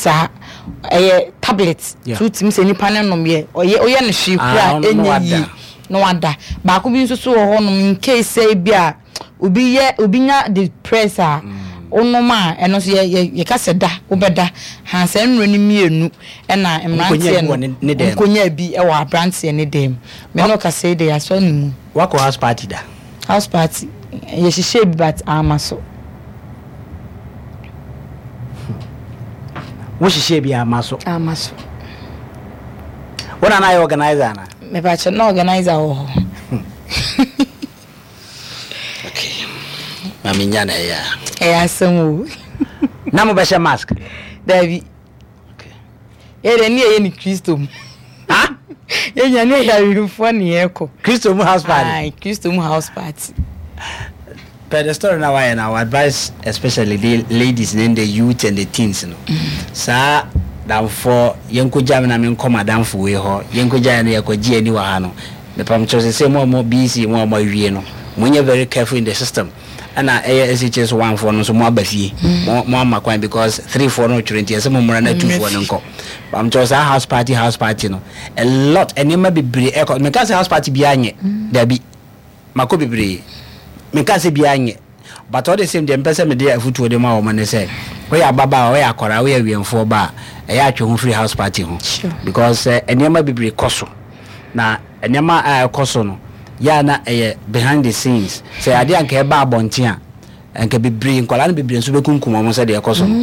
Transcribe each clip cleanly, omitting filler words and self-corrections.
Saa ɛyɛ tablet. So wotumi sɛ nipa no nom yɛ ɔyɛ ɔyɛ no hwee Ah, koraa ɔno na ɛnyɛ wada. yie na wada. Baako bi nso so wɔ hɔnom in case sɛ ebi a obi yɛ obi nya depress a wonom a ɛno nso yɛ yɛ yɛka sɛ da wobɛda. Ha saa nnuro no mmienu ɛna Wɔkɔnya mmeranteɛ bi no wɔ ne ne dan mu. wɔkɔnya bi wɔ aberanteɛ ne dan mu. Me ne wo kasa yi deɛ yɛasɔ ne mu. Wakɔ house party da? House party yɛhyehyɛɛ bi but amma so. Wo hyehyɛ bi ama so. Ama so. Wo na na ayɛ organizer ana? Mepakyɛ na organizer wɔ hɔ. Okay. Maame nya na ɛyɛ a. Ɛyɛ asɛm o. Na mo bɛhyɛ mask? Dabi. Okay. Yɛ deɛ ne yɛyɛ ne Kristo mu. Ha? Yɛ nya ne yɛ awimfoɔ ne yɛkɔ. Kristo mu house party. Aye, Kristo mu house party. Per the story na wayɛ na advice especially the ladies ne the youth and the teens no. Saa damfoɔ yɛnkɔgya me na menkɔ madamfo wei hɔ yɛnkɔgya yɛn no yɛkɔgye ani wɔ ha no mepam kyerɛ sɛ sɛ mo a mo BC mo a mo awie no monyɛ very careful in the system ɛna ɛyɛ SHS 1 foɔ no nso mo aba fie mo mo ama kwan because 3 foɔ no twerɛ nti ɛsɛ mo mmra na 2 foɔ no nkɔ pam kyerɛ saa house party no a lot nneɛma bebree ɛkɔ meka sɛ house party biara nyɛ dabi Makɔ bebree. Menka sɛ biara nyɛ but all the same deɛ mepɛ sɛ mede afutuo de ma wɔn ne sɛ woyɛ ababaawa, woyɛ akwadaa, woyɛ awiɛmfoɔ ba a, ɛyɛ a twe ho firi house party ho because sɛ nneɛma bebree kɔ so na nneɛma a ɛkɔ so no yɛ a na ɛyɛ behind the scenes. Sɛ adeɛ a nka ɛba abɔnten a nka bebree nkwadaa no bebree nso bɛkunkum wɔn sɛdeɛ ɛkɔ so no.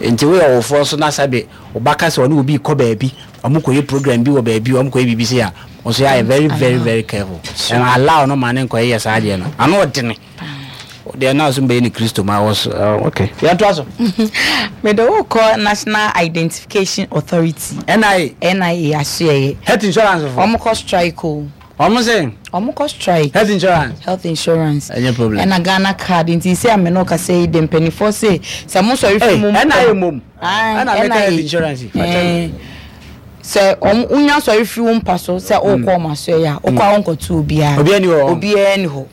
Nti woyɛ ɔwofoɔ nso na sɛbe wo ba ka sɛ ɔne obi rekɔ baabi Ɔmo kɔyɛ program bi wɔ baabi ɔmo kɔyɛ biribi sei a wo nso yɛ very very very careful and allow no ma ne nkɔyɛ yɛ saa adeɛ no ano ɔdene deɛ na so mbɛyɛ ne Kristo ma wɔ so okay yɛn to aso. Mede wo kɔ National Identification Authority. NIA. NIA asoɛeɛ. Health insurance fo. Ɔmo kɔ strike o. Ɔmo se. Ɔmo kɔ strike. Health insurance. Health insurance. Ɛnyɛ problem. Ɛna Ghana card nti sɛ ame no kasa yi de mpanimfoɔ se sɛ mo sɔre fi mo. NIA mom. Ae Ɛna meka health NIA. insurance yi. Fakyɛ me. Sɛ ɔmo wonya sɔre firi wo mpa so sɛ wokɔ ɔmo asoɛeɛ a wokɔ a wonkɔto obiara. Obiara ni hɔ. Obiara ni hɔ.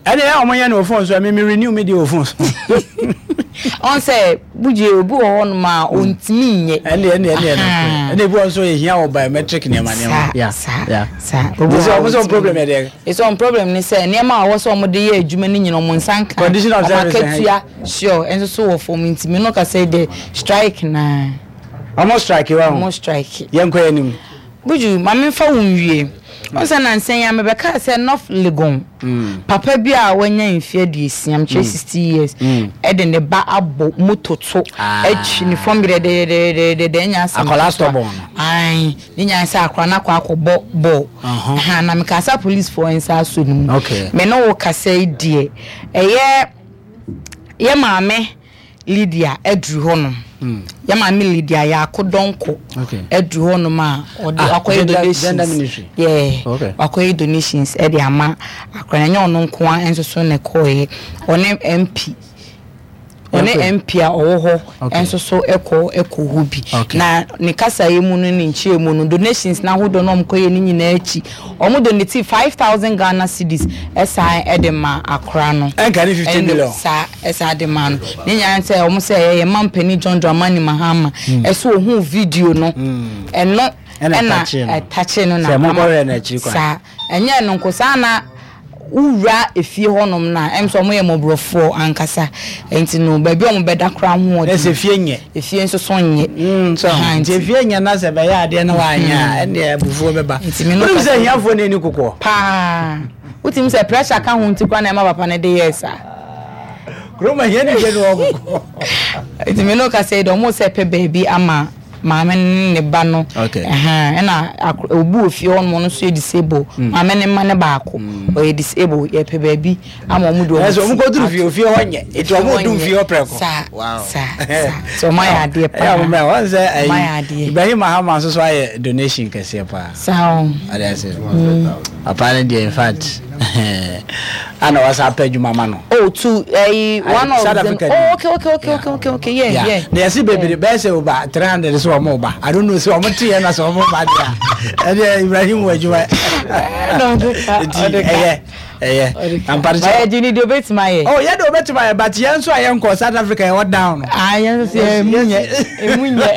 Ɛna ɛyɛ a wɔn yɛ no wɔ phone so ɛmi mi renew mi deɛ wɔ phone so. Ɔn sɛ bugye obi wɔ hɔ nom a ɔntumi nyɛ. Ɛne ɛne ɛne ɛne ɛne ebi wɔn nso ehia wɔ biometric nneɛma nneɛma. Saa saa saa. Obi wɔ hɔ a ɔntumi problem yɛ deɛ. Ɛsɛ wɔn problem ne sɛ nneɛma a wɔwɔ sɛ wɔn de yɛ adwuma no nyina wɔn nsa nka. Condition of service. Wɔn akatua sure ɛnso so wɔ fam nti mi no kasa yi deɛ strike naa. Wɔn strike wa ho. Wɔn strike. Yɛn kɔ yɛn anim. Buju, ma memfa wo nwie. Wohu sɛ nnansa yi ara mebɛkaa sɛ North Legon papa bi a wanya mfe 60, mekyerɛ 60 years, de ne ba abɔ moto to atwi ne fam dɛdɛdɛdɛdɛdɛ, ɛnyɛ asɛm Akwadaa ketewa. stubborn no. Ae, ne nyinaa sɛ akwadaa no akɔ akɔbɔ bɔɔl. Aha, na mekaa sɛ apolisifoɔ nsa asɔ ne mu. Me ne wo kasa yi deɛ, ɛyɛ yɛ maame Lydia aduru hɔnom. Yɛ maame Lydia Yaako Donkor aduru hɔnom a ɔde Ah, wakɔyɛ gender, donations. gender ministry. Yeah, Okay. wakɔyɛ donations ɛde ama akora no. Ɛnyɛ ɔno nko ara nso so na ɛkɔɔyɛ. Ɔne MP ɔne Okay. MP a ɔwɔ hɔ Okay. nso so ɛkɔ ɛkɔ hɔ bi. Okay. Na ne kasaeɛ mu no ne nkyerɛ mu no donations n'ahodoɔ na wɔkɔyɛ ne nyinaa akyi wɔn donate 5,000 Ghana cedis ɛsan ɛde ma akora no. Ɛnka ne 50 Ɛno million. saa. Ɛsan de maa no. Ne nyinaa ne sɛ wɔn sɛ ɛyɛ yɛn mampanin John Dramani Mahama ɛso ohuu video no ɛno Ɛna ɛna ɛtakyee no. ɛtakyee no na Sɛ ama monkɔhwɛ no akyiri kwan. saa ɛnyɛ ɛno nko saa na wowura efie hɔnom no a ɛm sɛ wɔn yɛ mmɔborɔfoɔ ankasa nti no baabi a wɔn bɛda koraa ho Na sɛ ɔden efie nyɛ. efie nso so nyɛ So Aha, nti nti efie nyɛ na sɛ bɛyɛ adeɛ na wanyɛ a ɛnneɛ abufuo bɛba. Nti me no Wonim sɛ kasa- ahiafoɔ na ɛni kokoɔ. paa Wotumi sɛ pressure ka ho nti koraa na ɛma papa no de yɛɛ saa. Kurom ahia ne deɛ no wɔ kɔkɔ. Nti me no kasa yi deɛ ɔmo sɛ pɛ baabi ama maame no ne ne ba no. Okay. Ɛna obi wɔ fie hɔ nom ɔno nso yɛ disable. Maame ne mma no baako ɔyɛ disable yɛpɛ baabi ama ɔmo de ɔmo Ɛsɛ ɔmo ti kɔduru ato. fie ofie hɔ nyɛ. Nti ɔmo dum fie hɔ prɛko. Saa Wow. saa saa. Nti ɔmo ayɛ adeɛ paa. Ɛyɛ ɔmo mɛ wɔn sɛ Ɔmo ayɛ ɛyi adeɛ. Ibrahim Mahama nso so ayɛ donation kɛseɛ paa. Saa o. Ɔde ase. Papa no deɛ in fact ana wasa apɛ adwuma ma no. Oh to ɛyi one of South them. Africa Oh okay okay okay okay okay okay yeah yeah. yeah. Na yɛsi bebree bɛyɛ sɛ over 300 sɛ wɔn ba. I don't know sɛ wɔn te yɛ na sɛ wɔn ba deɛ a ɛdeɛ Ibrahim wɔ adwuma. Nti ɛyɛ ɛyɛ. Ampare sɛ. Ɔyɛ gyi ni deɛ obetumi ayɛ. Oh yɛ de obetumi ayɛ but yɛn nso a yɛn kɔ South Africa yɛ wɔ down no. Ah yɛn nso yɛ emu nyɛ emu nyɛ.